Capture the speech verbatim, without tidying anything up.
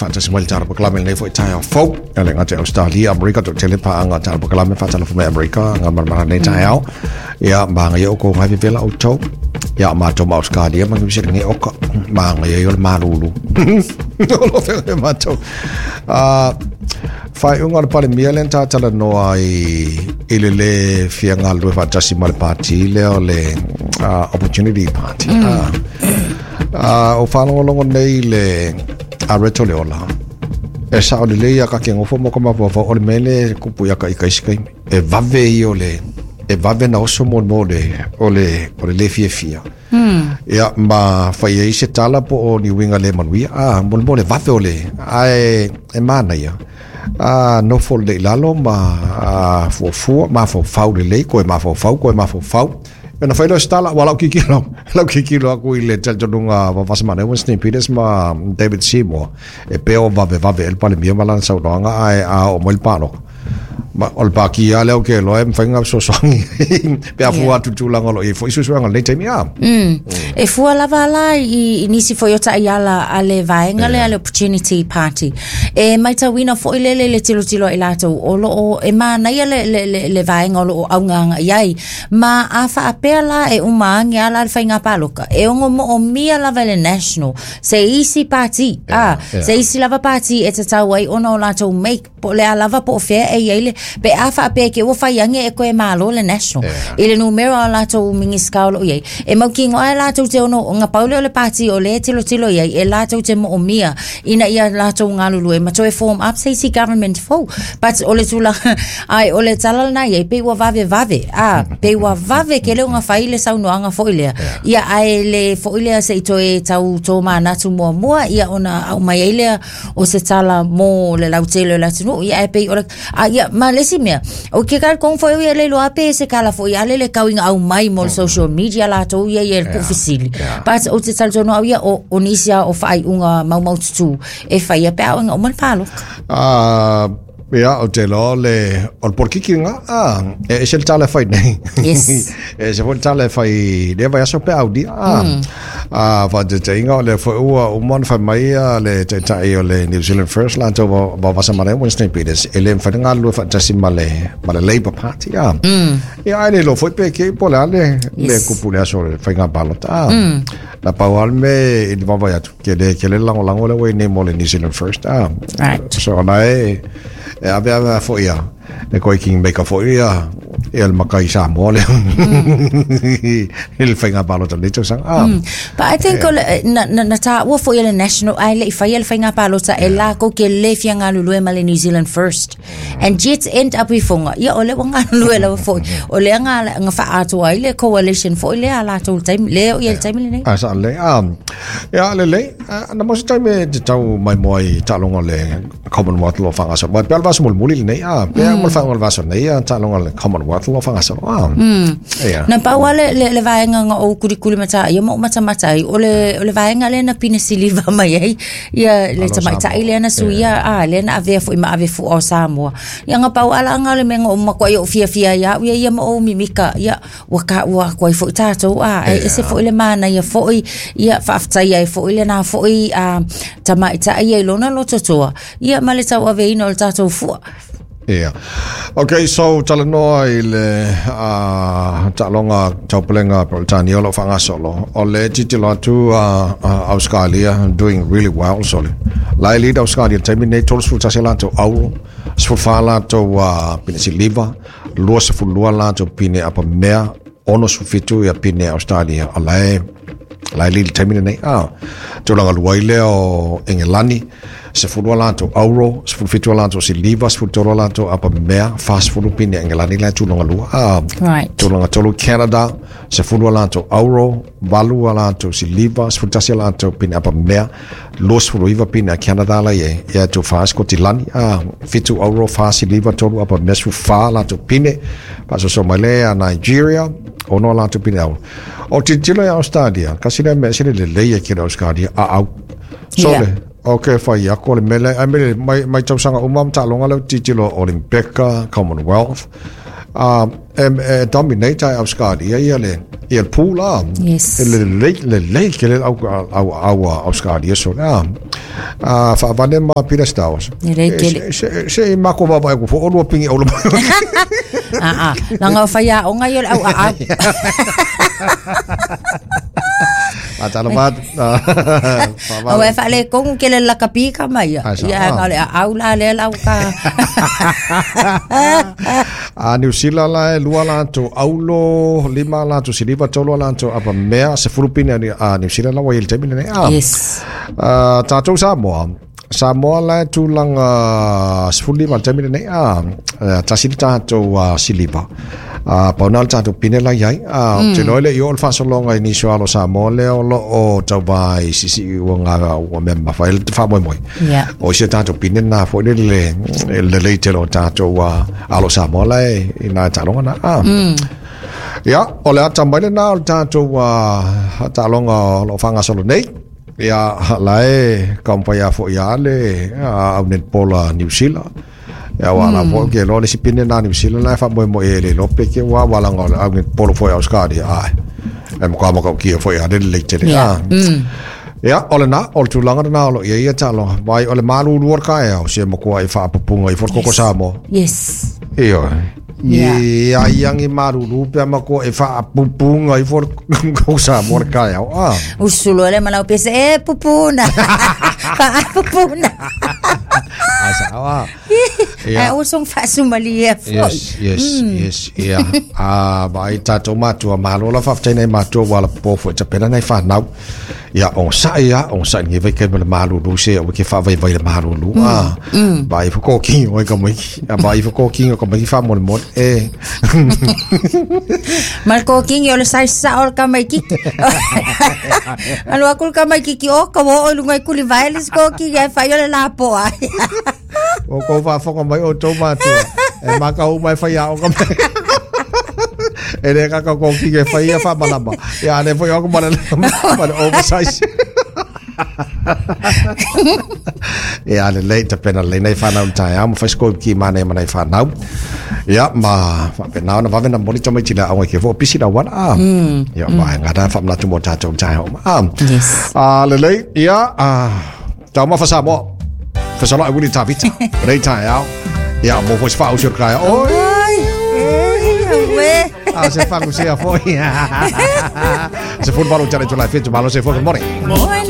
Faatasi mai le tatou polokalame lenei foi taeao fou. E le gata i Ausetalia, Amerika, toatele paaga tatou polokalame faatalofa mai Amerika ga malamala lenei taeao. Ia magaia oukou gai vevela outou. Ia matou ma Ausetalia ma Niu Silani oka. Magaia ia o le malulu. O lo feagai matou. Ah, faaiuga o le Palemia lea na tatalanoa i i le lē fia galulue faatasi ma le pati lea o le uh, Opportunity Party. Mm. Ah, uh, o faalogologo nei le Areto le ola. E sao lelei ia kake ngofo mo ka mafaufau o le mea lea e kupu ia ka i ka isi kaimi. E vave ia o le e vave na oso mo mo le o le o le le fiafia. Ia ma fai ai se tala po o ni uiga le manuia. Ah, mo le mo le vave o le ae e manaia. A nofo lelei i lalo ma a, fuafua mafaufau lelei koe mafaufau koe mafaufau. Ona fai lea o se tala, ua lau kikilo, lau kikilo aku i le talitonuga vavasamana Winston Peters ma David Seymour. E pea o vave vave e le Palemia ma lana saunoaga ae a oo mai le palota. Ma o le pakia lea o ke loa e mafai ona fesoasoani pe a fua atu i le tulaga o lo o i ai foi suesuega o lenei taimi a. Mm. E fua lava la i, i nisi foi o taiala a le vaega lea le Opportunity Party. E maitauina foi lele le tilotilo i latou o loo e manaia le, le, le, le vaega o loo augaga i ai. Ma a faapea la e uma age ala le faiga paloka. E ono moomia lava i le National se isi party. Ah, yeah. se isi lava party e tatau ai ona o latou make po le a lava po o fea e i ai le pe a faapea ke ua fai age e koe malo le National. Yeah. I le numera o latou minista o loo i ai. E mautinoa e latou te ono nga paule o le party o le tilotilo i ai e latou te moomia ina ia latou galulue ma toe form up se isi government fou. But o le tulaga ai o le tala lena i ai pe ua vave vave. Ah, pe ua vave ke le nga fai le saunoaga foi lea. Ia ae le foi lea se i toe tau tō manatu muamua ia ona au mai ai lea o se tala mo le lautele o le atunuu. Ia e pei o le a ia ma le isi mea o ke kal kong foi ia le loa pe se kala foi ale le kauinga au mai mo le social media latou ia ia le puufesili. But o te talitonu au ia o o nisi a o faaiuga maumaututu e faia pe a o inga uma le paloka. Ah, ia, o te loa le, o le polokiki nga, ah, e ese le tala e fai nei. Yes. E ese foi le tala e fai lea vaiaso pe aulia. Ah, ah, faataitaiga o lea foi ua uma ona fai mai a le taitai o le New Zealand First latou vavasamana Winston Peters e le mafai ona galulue faatasi ma le ma le Labour Party. Ah. Ia ae le iloa foi pe kei po o le a le le Yes. kupu le aso o le faiga palota. Ah. Na pau lava le mea i le vaavaai atu ke le ke le lagolago lea ua i nei mo le New Zealand First. Ah. Right. So ona e e ave ave a foi ia le koe kingmaker foi ia ia le makai Samoa lea i le faiga palota lenei tausaga. Ah. But I think o le, na, na, na tāua foi le National ai le i faia le faiga palota e lākou ke le fia galulue ma le New Zealand First. And yet end up i fonga. Ia o le ua galulue lava foi. O lea nga, nga faatoa ai le coalition foi lea a latou le taimi, lea o ia le taimi lenei. Ah, sa le ah ia lelei. Ah, na mo se taimi e te tau mai moa i taaloga o le Commonwealth lo faagasolo mai pea le vaiaso mulimuli lenei ah pea mo le faaiuga o le vaiaso nei ah taaloga o le Commonwealth lo faagasolo ah ia. Na pau lava le, le, le vaega nga ou kulikuli mata ia ma o matamata ai o le, o le vaega lea na pine siliva mai ai ia le Alo tamaitai Samoa. lea na suia a lea na avea foi ma ave fua o Samoa. Ia nga pau ala nga le mea nga o makuai o fiafia ia au ia ia ma o mimika ia ua ka ua aku ai foi tātou a e ese foi le mana ia foi ia faafetai ai foi le na foi a tamaitai ia i lona lototoa ia ma le tauaveina o le tātou fua. Yeah. Okay, so talanoa i le uh, taaloga taupulega Peretania o lo o faagasolo. O le tilotilo atu uh, uh, Australia doing really well so le. La e lead Australia taimi nei tolusefulu tasi latou auro, sefulufa latou uh, pine siliva, luasefululua latou pine apamea, onosefulufitu ia pine Australia. O la e la e lead i le taimi lenei. Ah, tulaga lua ai lea o Engelani, sefulu latou auro, sefulufitu latou siliva, sefulutolu latou apamea, fasefulu pine Engelani la e tulaga lua. Ah, Right. tulaga tolu Canada, sefulu latou auro, valu latou siliva, sefulutasi latou pine apamea, luasefuluiva pine a Canada la i ai. Ia tu fa Scotilani, ah, fitu auro, fa siliva, tolu apamea, sefulufa latou pine, faasoasoa mai lea a Nigeria, ono latou pine auro. O tilotilo ia Australia, kasi lea mea sili lelei e kele Australia, a au. So Yeah. le, o ke fai aku o le mele, ai mele, mai, mai tausaga uma ma taaloga lea tilotilo Olympika, Commonwealth, A e dominate ai Australia ia le ia le pula. Yes. Le le le le ke le au au au Australia so na. A fa vane ma Peter Stowers. Le kele. Se se ma ko ba ko fo o pingi o lo. Ah ah. Langa fa ya o ngai au au. Atalamat. Au e fa le kongu ke le la kapika mai. Ia nga le au la le lau ka. A New Zealand la lua la to aulo lima la to siliva tolo la to apa mea se fulupine a New Zealand la wa il temi ne. Yes. Ah tatou Samoa. Samoa la tulaga sefulima le taimi lenei a tasi le tatou siliva a pauna le tatou pine la iai a ou te iloa e le'i oo le faasologa i nisi o alo Samoa lea o loo tauvā i siisii ua ga ua mea mamafa ai le faamoemoe o isi a tatou pine lenā foʻi lele lelei tele o tatou alo Samoa la e ina e taaloga na a ia o le ata mai lenā o le tatou taaloga o loo faagasolo nei. Ia la e kaumpai a foʻi a le au netball New Zealand. Ia ua la foʻi ke loa le isi pine na New Zealand la e faamoemoe e le iloa pe ke ua walaga o le au netball foʻi Australia ae e makuā makaukia foʻi a le lelei tele a. Ia o lenā o le tulaga lenā o loo ia ia taaloga vai o le malulu o le kaeao se makuā i faapupuga i fo le koko Samoa. Yes. Ioe. Ia iagi malulu pe makuā e faapupuga i fo le koko Samoa le kaeao a. Usulo le manao pese e pupuna. Faapupuna. Asa. Ia o song faasumalia foʻi. Yes, yes, yes. Ia. A vai tatou matua malo la faafetai nai matua ua lapopo foʻi tapena nai fanau. Ia ogasaʻi a ogasaʻi lagi vai ke ma le malulu se ua ke faavaivai le malulu a. Vai fo kokiga oe kamaiki. A vai fo kokiga kamaiki faamolemole e. Ma le kokiga o le saisao o le kamaikiki. Alu aku le kamaikiki o ka ua oo i luga i kulivae le isi kokiga e fai o le lapoa ai. O kou faafoga mai outou matua. E makau mai faiaoga mai. E le kaka kokiga e fai ia faamalama. Ia ale foi aku ma le ma le oversize. Ia lelei tapena lelei nai fanau le taeao ma fai se ki manai ma nai fanau. Ia ma faapena ona vave na momoli tamaiti le aoga ke fo pisi la auala a. Ia vaega lena faamanatu mo tatou le taeao ma a. Yes. A lelei ia a taumafa Samoa. Fesoloai Wili Tavita. Lelei taeao. Ia mo foi se faausi o le kaeao. Oi. Oi. A se fagusea foʻi. Se fulu valu tale tulai fitu malo se fo. Good morning.